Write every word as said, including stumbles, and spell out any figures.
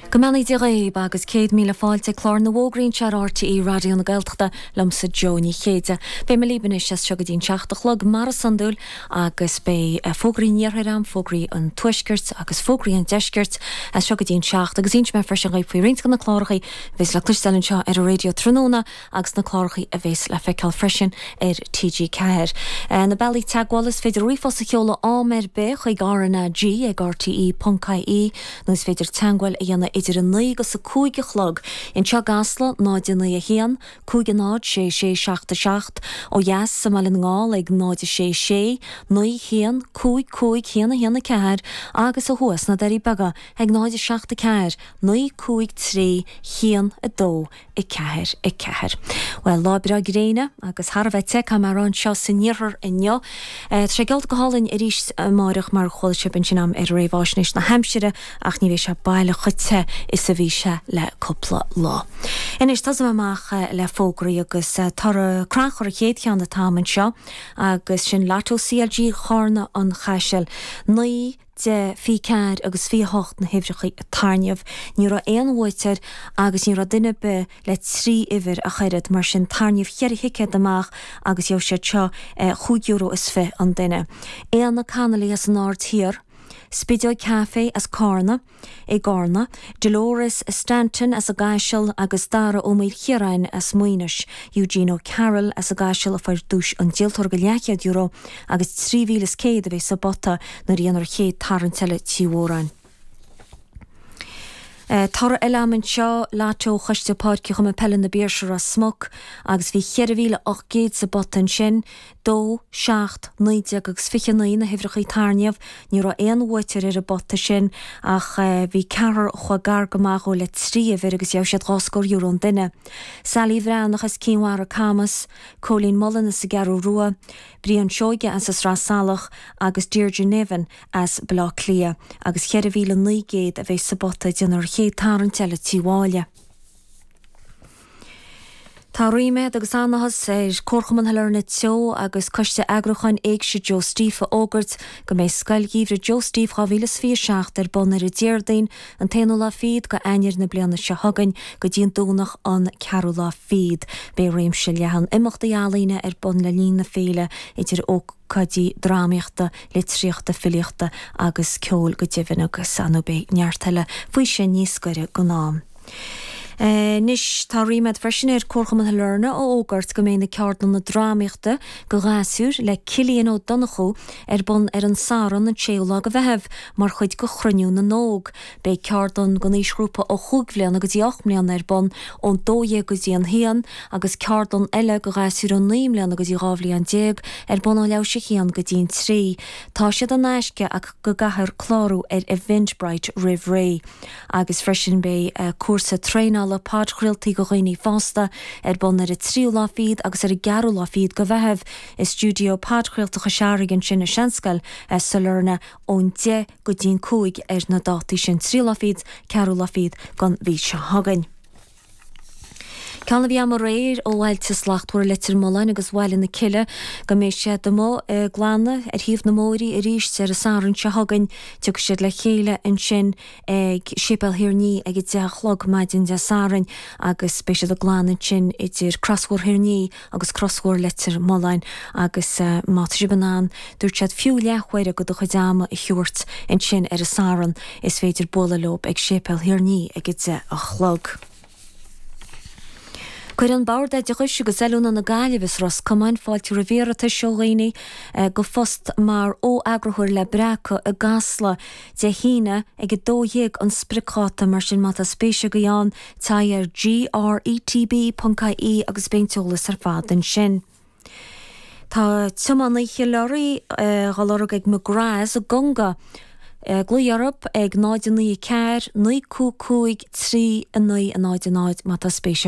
Go mbeannaí Dia dhaoibh agus céad míle fáilte clár na bhfógraí anseo ar RTÉ Raidió na Gaeltachta liomsa Joe Ní Chéide. Beidh mé libh anois as seo go dtí an seacht a chlog mar is iondúil agus beidh eh, fógraí an iarthair agam, fógraí an tuaiscirt agus fógraí an deiscirt as seo go dtí an seacht agus inseoidh mé freisin dhaoibh faoi roinnt de na cláracha a bheas le cloisteáil anseo ar an raidió tráthnóna agus na cláracha a bheas le feiceáil freisin ar TG Ceathair. Eh, na bealaí teagmhála is féidir ríomhphost a sheoladh am ar bith chuig RnaG ag RTE.ie nó is féidir teagmháil a dhéanamh idir a naoi agus a cúig a chlog. Anseo i gCasla náid a naoi a haon, cúig náid sé sé seacht a seacht ó dheas sa mBaile na nGall ag náid a sé sé, naoi haon cúig cúig haon a haon a ceathair agus ó thuaidh sna Doirí Beaga ag náid a seacht a ceathair, naoi cúig trí haon a dó a ceathair a ceathair. Well lá breá gréine agus thar a bheith te mar anseo san iarthar inniu. Tá sé geallta go hálainn arís amárach mar chuala sibh ansin agam ar réamhaisnéis na haimsire ach ní bheidh sé baileach chomh te is a bhí sé le cúpla lá. Anois tosóidh mé amach le fógraí agus toradh crannchuir an chéad cheann atá agam anseo agus sin Lotto CLG Charna an Chaisil. Naoi deich fiche ceathair agus fiche hocht na huimhreacha a tairngíodh. Ní raibh aon bhuaiteoir agus ní raibh duine ar bith le trí uimhir ach oiread mar sin tarraingíodh ceithre thicéad amach agus gheobhaidh siad seo chúig euro is fiche an duine. Éanna Connolly as an Aird Thiar, Spideog Café as Carna, i gCarna, Dolores Stanton as an gCaiseal agus Dara Ó Maoilchiaráin as Maínis, Eugene O'Carroll as an gCaiseal a fuair duais an díoltóra go leathchéad euro agus trí mhíle is céad a bheidh sa bpota nuair a dhéanfar an chéad tarraingt eile trí mhórán. Toradh eile agam anseo Lotto Choiste Páirce Chumann Peile na Piarsaigh Ros Muc agus bhí ceithre mhíle ocht gcéad sa bpota ansin, dó, seacht, naoi déag agus fiche naoi na huimhreacha a tairngíodh, ní raibh aon bhuaiteoir ar an bpota sin ach bhí ceathrar a chuaigh gar go maith dhó le trí uimhir agus gheobhaidh siad dhá scór euro an duine. Sally Bhreathnach as Cinn Mhara Camas, Cóilín Mullen as an gCeathrú Rua, Brian Seoige as an Sraith Salach agus Deirdre Nevin as Baile Átha Cliath agus ceithre mhíle naoi gcéad a bheidh sa bpota déanfar an chéad tarraingt eile trí mháille. Tá ríméad agus an-áthas ar Chomharchumann Shailearna Teo agus Coiste Eagrúcháin Éigse Joe Steve a fhógairt go mbeidh Scoil Gheimhridh Joe Steve dhá mhíle is fiche a seacht ar bun ar an Déardaoin an t-aonú lá fichead go Eanáir na bliana seo chugainn go dtí an Domhnach an ceathrú lá fichead. Beidh réimse leathan imeachtaí ealaíne ar bun le linn na féile idir ócáidí drámaíochta, litríochta, filíochta agus ceoil go deimhin agus anú beidh neart eile faoi sin níos gaire don am. Anois tá ríméad freisin ar Chomharchumann Shailearna a fhógairt go mbeidh na ceardlanna drámaíochta go ghasúir le Cillian Ó Donnchú ar bun ar an Satharn an séú lá go Mheitheamh mar chuid go Chruinniú na nÓg. Beidh ceardlann don aoisghrúpa ó chúig bhliana go dtí ocht mbliana ar bun ón dó dhéag go dtí an haon agus ceardlann eile go ghasúir ó naoi mbliana go dtí dhá bhliain déag ar bun ó leathuair tar éis a haon go dtí an trí. Tá siad in aisce ach go gcaithfear clárú ar Eventbrite roimh ré. Agus freisin beidh cúrsa traenála podchraoltaí go dhaoine fásta ar bun ar an tríú lá fichead agus ar an gceathrú lá fichead go Mheitheamh i stiúideo podchraolta Chois Fharraige ansin i Seanscoil Sailearna ón deich go dtí an cúig ar na dátaí sin tríú lá fichead, ceathrú lá fichead gon mhí seo chugainn. Ceann a bhí agam aréir ó Bhailte Slachtmhara Leitir Mealláin agus Bhaile na Cille go mbeidh siad amuigh ag glanadh ar thaobh na mbóithrí arís ar an Satharn seo chugainn. Tiocfaidh siad le chéile ansin ag Séipéal Thír an Fhia ag a deich a chlog maidin Dé Sathairn agus beidh siad ag glanadh ansin idir Crosbhóthar Thír an Fhia agus Crosbhóthar Leitir Mealláin agus má tá sibh in ann, dúirt siad, fiú leathuair de do chuid ama a thabhairt ansin ar an Satharn, is féidir bualadh leo ag Séipéal Thír an Fhia ag a deich a chlog. Cuireann Bord Oideachais agus Oiliúna na Gaillimhe is Ros Comáin fáilte roimh iarratais ó dhaoine go phost mar fho-eagarthóir le Breacadh i gCasla Dé hAoine ag a dó dhéag an spriocdháta, mar sin má tá spéis agaibh ann téigh ar gretb.ie agus beidh an t-eolas ar fad ansin. Tá tiománaí leoraí á lorg ag McGrath's i gConga. Glaoigh orthu ag náid a naoi a ceathair, naoi cúig cúig, trí a naoi a náid a náid má tá spéis